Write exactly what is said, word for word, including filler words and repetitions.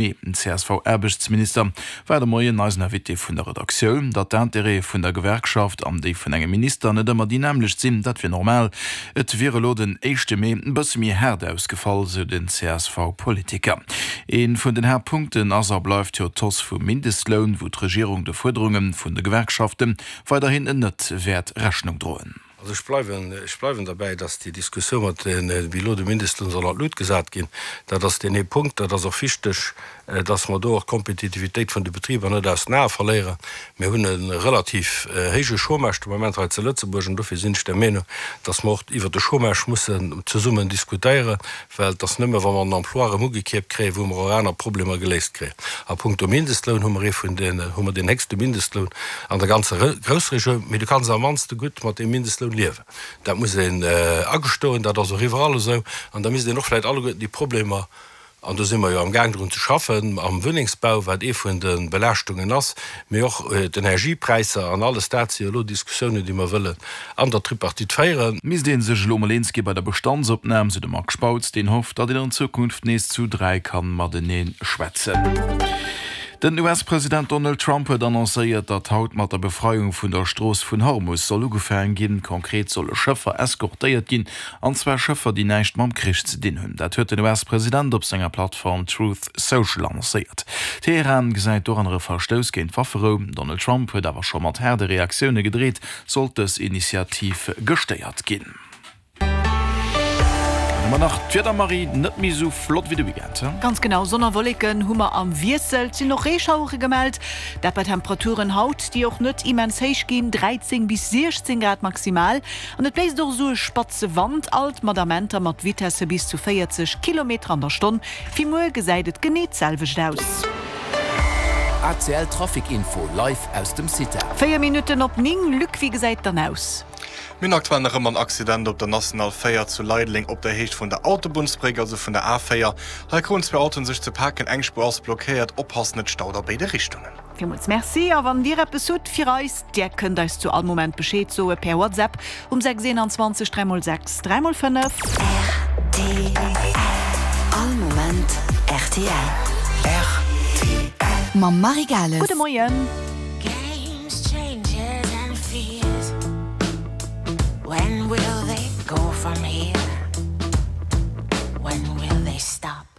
Mee den CSV-Aarbechtsminister war de Moien eisen Invité vun der Redaktioun. Datt d'Intérêtë vun der Gewerkschaft an déi vun engem Minister net ëmmer déi nämmlecht sinn, dat wier normal. Et wier elo den éischte Mee e bësse méi haart ausgefall, sou den CSV-Politiker. Ee vun den Haaptpunkten ass a bleift jo d'Hausse vum Mindestloun, wou d'Regierung de Fuerderunge vun de Gewerkschafte weiderhin net wäert Rechnung droen. Also ech bleiwen, ech bleiwen derbäi, dass déi Diskussioun mat den, wéi elo de Mindestloun soll an d'Lut gesat ginn, dat ass deen ee Punkt. Dat ass och wichteg, dass mer do och d'Kompetitivitéit vun de Betriber net aus den Ae verléieren. Mir hunn e relativ héije Chômage de Moment hei zu Lëtzebuerg an dofir sinn ech der Meenung, dass mer och iwwert de Chômage mussen zesummen diskutéieren, well et ass nëmme wa mer den Emploi erëm ugekierpt kréien, wou mer och aner Problemer geléist kréien. A punkto Mindestloun hu mer ee vun den, hu mer deen héchste Mindestloun an der ganzer Groussregioun, mee du kanns am mannste gutt mat deem Mindestloun liewen. Dat muss een agestoen, dat ass och iwwerall esou. An da misst een och vläicht alleguerten déi Problemer, an do si mer jo amgaang drun ze schaffen, am Wunnengsbau, wat ee vun de Belaaschtungen ass, mee och d'Energiepräisser an alles dat si jo elo Diskussiounen, déi mer wëllen an der Tripartite féieren. Misst ee sech elo mol eens gi bei der Bestandsopnam, sou de Marc Spautz, deen hofft, datt een an Zukunft nees zu dräi kann matenee schwätzen. Den US-President Donald Trump huet annoncéiert, datt haut mat der Befreiung vun der Strooss vun Hormus soll ugefaange ginn. Konkret solle Schëffer eskortéiert ginn, an zwar Schëffer, déi näischt mam Krich ze dinn hunn. Dat huet den US-President op senger Plattform Truth Social annoncéiert. Teheran gesäit doranner e Verstouss géint d'Wafferou. Den Donald Trump huet awer scho mat haarde Reaktioune gedreet, sollt dës Initiativ gestéiert ginn. Dann hu mer nach d'Wieder, Marie, net méi esou flott wéi de Weekend, he? Ganz genau, Sonn a Wolleken hu mer am Wiessel, et sinn och Reeschauere gemellt, dat bei Temperaturen haut, déi och net immens héich ginn, dräizéng bis siechzéng Grad maximal. An et bléist och esou e spatze Wand, alt mat Amenter mat Vitesse bis zu véierzeg Kilometer an der Stonn. Fir muer gesäit et genee d'selwecht aus. A C L Trafic Info live aus dem CITA. Véier Minutten op néng, Luc, wéi gesäit dann aus? Mir hunn aktuell nach ëmmer en Accident op der National véier zu Leideleng op der Héicht vun der Autobunnsbréck, also vun der A véier. Hei kruten zwee Autoen sech ze paken, eng Spuer ass blockéiert. Oppassen, et staut a béide Richtungen. Villmools Merci a wann Dir eppes hutt fir eis, Dir kënnt eis zu all Moment Bescheed soe per WhatsApp um sechs eenanzwanzeg dräi mol sechs dräi mol fënnef. Rtl All Moment rtl. Rtl. Mam Marie Gales. Gudde Moien.